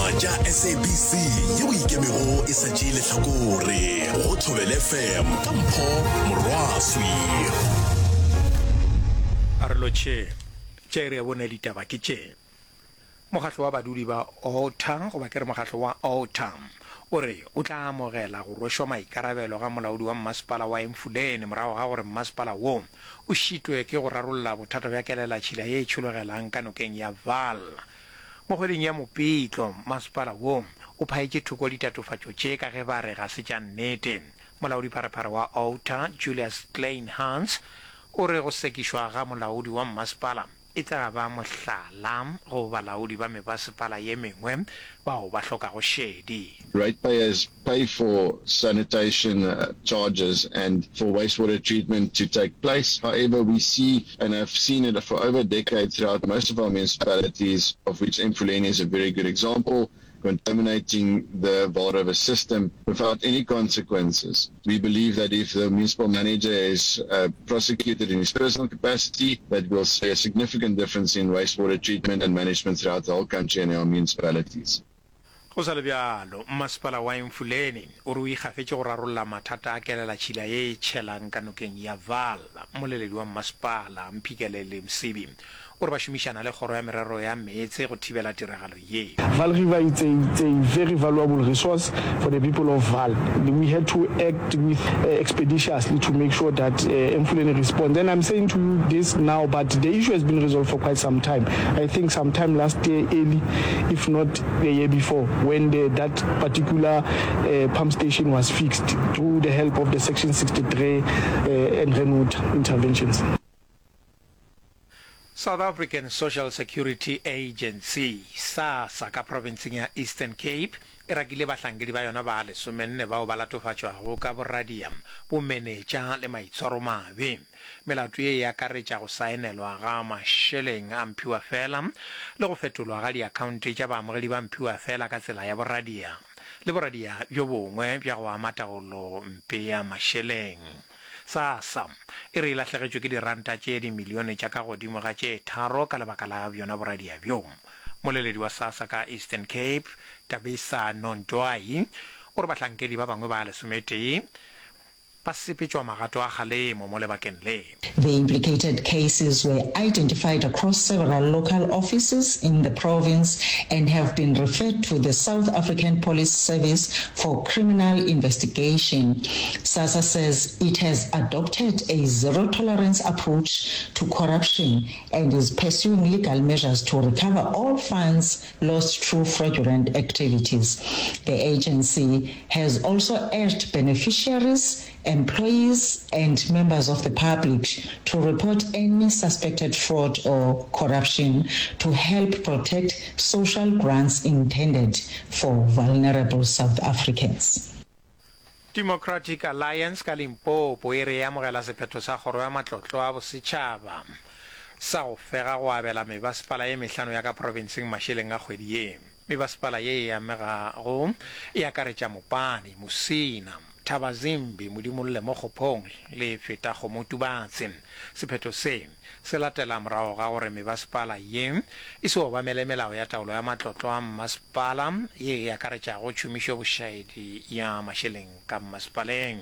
Ditaba tša SABC yeo e ikemego e sa tšee lehlakore go Thobela FM ka Mpho Morwaswi. A re lotšhe. Tše iri ya bone ditaba ke tše. Mokgatlo wa badudi ba Outa goba ke re mokgatlo wa Outa o re o tla amogela go rwešwa maikarabelo ga molaodi wa mmasepala wa Emfuleni morago ga gore mmasepala wo o šitwe ke go rarolla bothata bja kelelatšhila ye e tšhologelang ka nokeng ya Vaal. Mo kgweding ya Mopitlo, masepala wo o phaetše thoko ditatofatšo tše ka ge ba re ga se tša nnete. Molaodipharephare wa Outa, Julius Kleynhans, o re go sekišwa ga molaodi wa mmasepala e tla ba mohlala go balaodi ba mebasepala ye mengwe bao ba hlokago šedi. Ratepayers pay for sanitation charges and for wastewater treatment to take place. However, we see and have seen it for over a decade throughout most of our municipalities, of which Emfuleni is a very good example, contaminating the Vaal River system without any consequences. We believe that if the municipal manager is uh, prosecuted in his personal capacity, that we'll see a significant difference in wastewater treatment and management throughout the whole country and our municipalities. Go sa le bjalo, Mmasepala wa Emfuleni o re o ikgafetše go rarolla mathata a kelelatšhila ye e tšhelang ka nokeng ya Vaal. Mmoleledi wa mmasepala, Mphikeleli Msibi, o re ba šomišana le Kgoro ya Merero ya Meetse go thibela tiragalo ye. Vaal River it's a it's a very valuable resource for the people of Vaal. We had to act with expeditiously to make sure that Emfuleni responds. And I'm saying to you this now but the issue has been resolved for quite some time. I think some time last year early if not the year before when the that particular pump station was fixed through the help of the section 63 and Renwood interventions. South African Social Security Agency, SASSA, ka profenseng ya Eastern Cape e rakile bahlankedi ba yona ba lesomenne bao ba latofatšwago ka boradia, bomenetša le maitshwaromabe. Melato ye e akaretša go saenelwa ga mašeleng a mphiwafela le go fetolwa ga diakhaonte tša baamogedi ba mphiwafela ka tsela ya boradia le boradia bjo bongwe bja go ama taolompe ya mašeleng. SASSA e re e lahlegetšwe ke diranta tše dimilione tša ka godimo ga tše tharo ka lebaka la bjona boradia bjo. Mmoleledi wa SASSA ka Eastern Cape, Tabisa Nontwai, o re bahlankedi ba bangwe ba lesometee ba sepetšwa magato a kgalemo mo lebakeng le. The implicated cases were identified across several local offices in the province and have been referred to the South African Police Service for criminal investigation. SASSA says it has adopted a zero-tolerance approach to corruption and is pursuing legal measures to recover all funds lost through fraudulent activities. The agency has also urged beneficiaries, employees and members of the public to report any suspected fraud or corruption to help protect social grants intended for vulnerable South Africans. Democratic Alliance ka Limpopo e re e amogela sephetho sa Kgoro ya Matlotlo a Bosetšhaba sa go fega go abela mebasepala ye mehlano ya ka profenseng mašeleng a kgwedi ye. Mebasepala ye e amegago e akaretša Mopani, Musina, Thabazimbi, Modimolle Mokgophong le Fetakgomo Tubatse. Sephetho se se latela morago ga gore mebasepala ye e se obamele melao ya taolo ya matlotlo a mmasepala ye e akaretšago tšhomišobošaedi ya mašeleng ka mmasepaleng.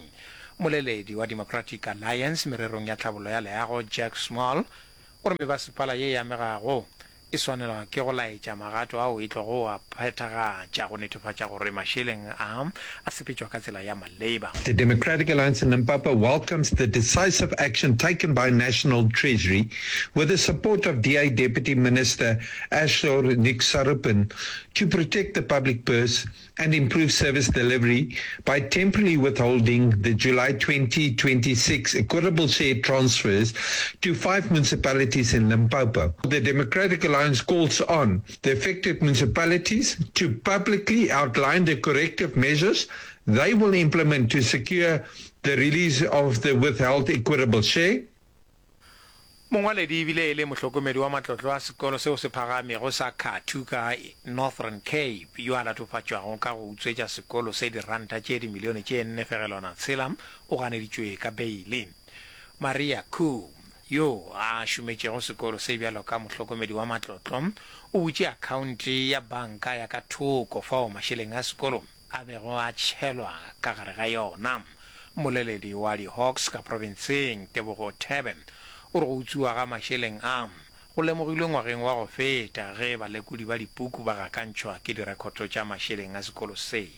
Mmoleledi wa Democratic Alliance mererong ya tlhabollo ya leago Jack Small o re mebasepala ye e amegago e swanelwa ke go laetša magato ao e tlogo a phethagatša go netefatša gore mašeleng a a sepetšwa ka tsela ya maleba. The Democratic Alliance in Limpopo welcomes the decisive action taken by National Treasury with the support of DA Deputy Minister Ashor Nick Sarupen to protect the public purse and improve service delivery by temporarily withholding the July 2026 equitable share transfers to five municipalities in Limpopo. The Democratic Alliance calls on the affected municipalities to publicly outline the corrective measures they will implement to secure the release of the withheld equitable share. Mongwaledi e bile e le mohlokomedi wa matlotlo a sekolo seo se phagamego sa Kathu ka Northern Cape yo a latofatšwago ka go utswetša sekolo se diranta tše dimilione tše nne fegelwana tshela o ganeditšwe ka beile. Maria Koo, Yo a šometšego sekolo se bjalo ka mohlokomedi wa matlotlo, o butše akhaonte ya banka ya ka thoko fao mašeleng a sekolo a bego a tšhelwa ka gare ga yona. Mmoleledi wa di-Hawks ka profenseng, Tebogo Thebe, o re go utswiwa ga mašeleng a go lemogilwe ngwageng wa go feta ge balekodi ba dipuku ba gakantšhwa ke direkhoto tša mašeleng a sekolo se.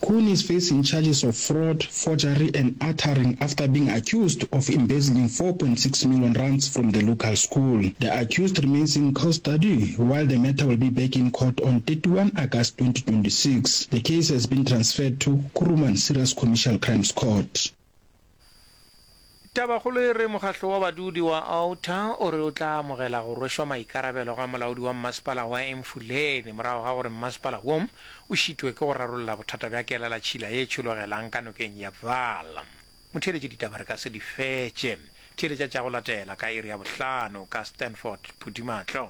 Koen is facing charges of fraud, forgery and uttering after being accused of embezzling 4.6 million rands from the local school. The accused remains in custody while the matter will be back in court on 31 August 2026. The case has been transferred to Kuruman Serious Commercial Crimes Court. Tabakgolo e re mokgahlo wa badudi wa Outa o re o tla amogela go rwešwa maikarabelo ga molaodi wa mmasepala wa Emfuleni morago ga gore mmasepala wo o šitwe ke go rarolla bothata bja kelelatšhila ye tšhologelang ka nokeng ya Vaal. Motheeletši ditaba re ka se di fetše. Theeletša tša go latela ka iri ya bohlano ka Stanford Phudimatlo.